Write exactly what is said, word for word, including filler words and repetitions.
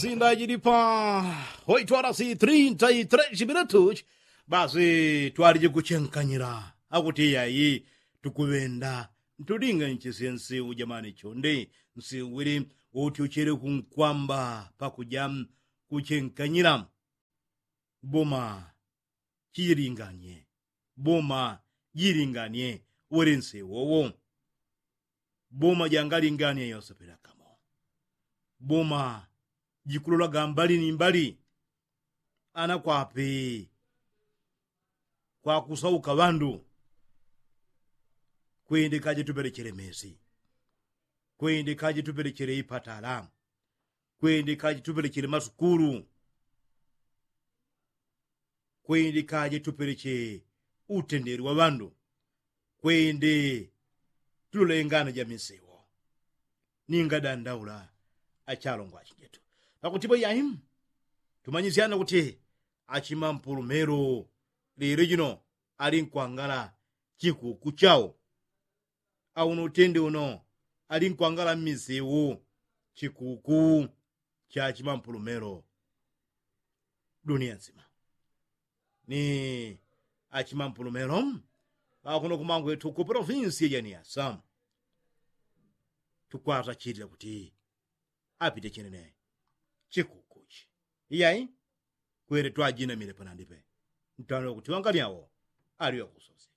Sindajilipa hoitwala si trinta i tres minutuchi. Basi twaliji kuchenkanyila akuti yayi tukuŵenda ntulinga nchisye nsiu jamani chonde nsiu wili uti uchele kunkwamba pakuja kuchenkanyila. Boma chilinganie boma jilinganie wele nsiu wowo. Boma jangalinganie yosepela kamo boma jikulolaga mbali ni mbali. Anakwape kwakusauka ŵandu. Kwende kaje tupelechele mesi. Kwende kaje tupelechele ipatala. Kwende kaje tupelechele masukulu. Kwende kaje tupeleche utendeli wa ŵandu. Kwende tulole ngano ja misewo. Ningadandaula achalongwa achinjetu pakuti bwe yaimu tumanyisyana kuti achimampulumelo lelo jino ali nkwangala chikuku chao. Auno utende uno ali nkwangala mmisewo chikuku cha achimampulumelo. Dunia nsima ni achimampulumelo akuno kumangwetu ku polofinsi ya janiasa. Tukwata chitila kuti apite chenene chikukuchi iyai. Kwele twajinamile panandipe ntano kuti wanganiawo aliwe kusosi.